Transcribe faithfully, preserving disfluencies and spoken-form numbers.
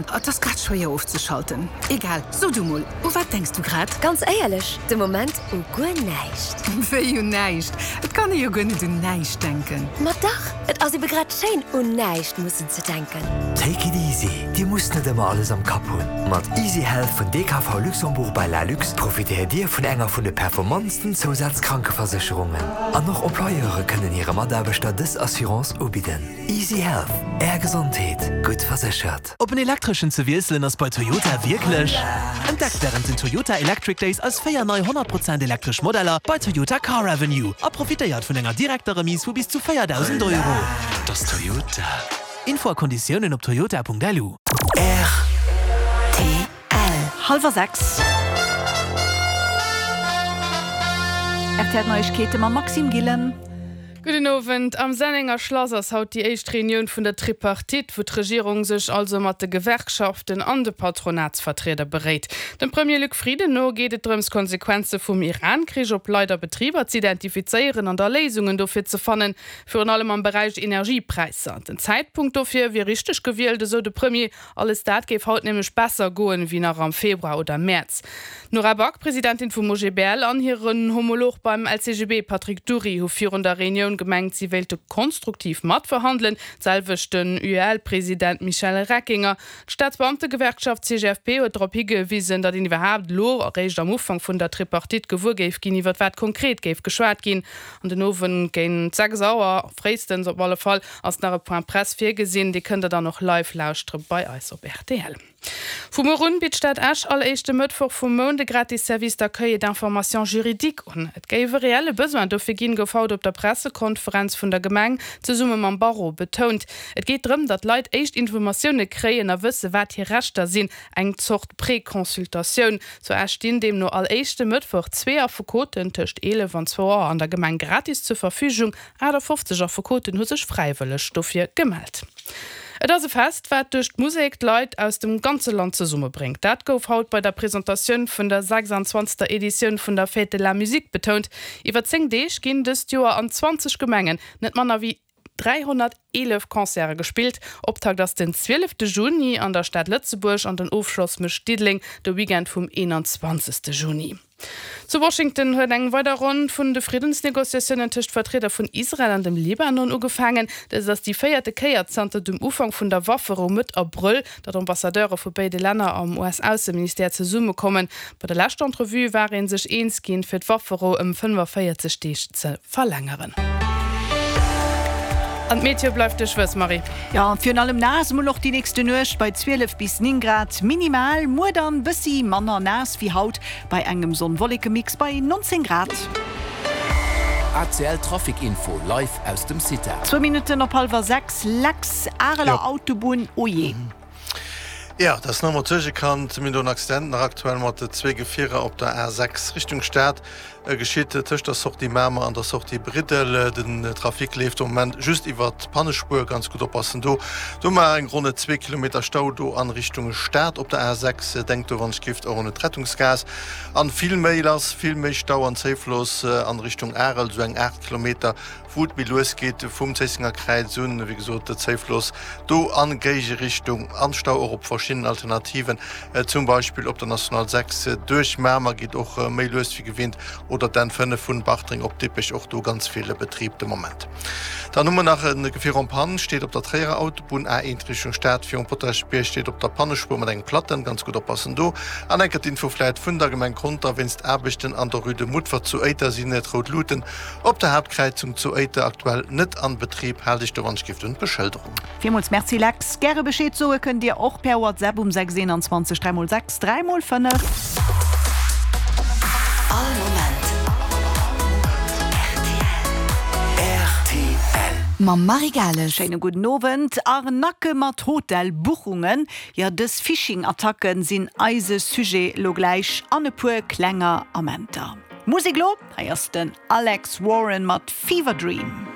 Et ass grad schwéier ofzeschalten. Egal, so du mol, u wat denks du grad? Ganz éierlech, de Moment u guer näischt. Wéi un näischt? Et kann ee jo guer net un näischt denken. Ma dach, et ass ebe grad schéin, un näischt mussen ze denken. Take it easy, Dir musst net ëmmer alles am Kapp hunn. Mat Easy Health vun D K V Luxembourg by Lalux profitéiert Dir vun enger vun de performantsten Zousazkrankeversécherungen. An och Employeure kënnen hire Mataarbechter dës Assurance ubidden. Easy Health, Är Gesondheet, gutt verséchert. Op en elektreschen ze wiesselen ass bei Toyota wierklech. Entdeckt wärend den Toyota Electric Days eis véier nei honnert Prozent elektresch Modeller bei Toyota Car Avenue a profitéiert vun enger direkter Remise vu bis zu véierdausend Euro. Dat ass Toyota. Info a Konditiounen op toyota Punkt L U. R T L. Hallwer sechs. R T L Neiegkeete mam Maxime Gillen. Gudden Owend. Am Sennenger Schlass ass haut déi éischt Reunioun vun der Tripartite, wou d'Regierung sech also mat de Gewerkschaften an de Patronatsvertrieder beréit. Dem Premier Luc Frieden no geet et drëms, Konsequenze vum Iran-Krich op Leit a Betriber ze identifizéieren an da Léisungen dofir ze fannen, virun allem am Beräich Energiepräisser. Den Zäitpunkt dofir wier richteg gewielt, esou de Premier, alles dat géif haut nämlech besser goen wéi nach am Februar oder Mäerz. D'Nora Back, Presidentin vum O G B L, an hiren Homolog beim L C G B Patrick Dury hu virun der Reunioun gemengt, si wéilte konstruktiv matverhandelen, d'selwecht den U E L-President Michel Reckinger. D'Staatsbeamtegewerkschaft C G F P huet drop higewisen, datt een iwwerhaapt elo eréischt am Ufank vun der Tripartite gewuer géif ginn, iwwer wat konkret géif geschwat ginn. An den Owend géint sechs Auer, fréistens op alle Fall, ass nach e Point Presse virgesinn, dee kënnt der dann och live lauschtere bei eis op R T L. Vu muer un bitt d'Stad Esch all éischte Mëttwoch vum Mount de gratis Service d'accueil et d'information juridique un. Et géif e reelle Besoin dofir ginn, gouf haut op der Pressekonferenz vun der Gemeng zesumme mam Barreau betount. Et geet drëm, datt Leit éischt Informatioune kréien a wësse wat hir Rechter sinn, eng Zort Preconsultatioun. Zu Esch stinn deemno all éischte Mëttwoch zwee Affekoten tëscht eelef an zwou Auer an der Gemeng gratis zur Verfügung. aachtafofzeg Affekoten hu sech fräiwëlleg dofir gemellt. Et ass e Fest, wat duerch d'Musek d'Leit aus dem ganze Land zesummebréngt. Dat gouf haut bei der Presentatioun vun der sechsanzwanzegster Editioun vun der Fête de la Musique betount. Iwwer zéng Deeg ginn dëst Joer an zwanzeg Gemengen net manner wéi dräihonnerteelef Concerte gespillt. Optakt ass den zwielefte Juni an der Stad Lëtzebuerg an den Ofschloss mécht Diddeleng de Weekend vum eenanzwanzegste Juni. Zu Washington huet eng weider Ronn vun de Friddensnegociatiounen tëscht Vertrieder vun Israel an dem Libanon ugefaangen. Dat ass déi véierte Kéier zanter dem Ufank vun der Wafferou Mëtt Abrëll, datt Ambassadeure vu béide Länner am U S-Ausseministère zesummekommen. Bei der leschter Entrevue war ee sech eens ginn, fir d'Wafferou ëm fënnefvéierzeg Deeg ze verlängeren. An d'Meteo bleift duerchwuess, Marie. Jo, virun allem naass mol och déi nächst Nuecht bei zwielef bis néng Grad minimal, muer dann bëssi manner naass wéi haut bei engem Sonn-Wolleke-Mix bei nonzéng Grad. A C L Trafic Info live aus dem CITA. Zwou Minutten op hallwer sechs. Lex, Areler Autobunn, oh je. Jo, dat ass nach emol Suergekand. Mir hunn do en Accident nach aktuell mat zwee Gefierer op der A sechs Richtung Stad, geschitt tëscht der Sortie Mamer an der Sortie Briddel. Den Trafic leeft am Moment just iwwer d'Pannespuer, ganz gutt oppassen do. Do mar eng ronn zwee Kilometer Stau do an Richtung Stad op der A sechs. Denkt do wann et gift och un d'Rettungsgaass. An vill méi lass, vill méi Stau an Zéifloss an Richtung Arel, sou eng aacht Kilometer wou et méi lues geet vum Zéissenger Kräiz un, wéi gesot Zéifloss do an Géigerichtung an Stau och op verschiddenen Alternativen, zum Beispill op der National sechs duerch Mamer geet och méi lues wéi gewinnt oder d'N fënnef vun Bartreng op Dippech, och do ganz vill Betrib de Moment. Dann hu mer nach e Gefier en panne, steet op der Tréierer Autobunn A eent Richtung Stad virum Potaschbierg, steet op der Pannespuer mat engem Platten, ganz gutt oppassen do. An enker d'Info vläit vun der Gemeng Conter, Wéinst Aarbechten an der Rue de Mutfert zu Éiter sinn d'rout Luuten op der Haaptkräizung zu Éiter aktuell net an Betrib. Haalt iech do wann et gift un d'Beschëlderung. Villmools Merci Lex. Gäre Bescheed soe kënnt Dir och per WhatsApp um sechs eenanzwanzeg dräi mol sechs dräi mol fënnef. All Moment R T L. Mam Marie Gales. Schéine gudden Owend. Arnacke mat Hotelbuchungen, jo dës Phishing-Attacken sinn eise Sujet lo gläich an e puer klenger Amenter. Musek lo, hei ass den Alex Warren mat Fever Dream.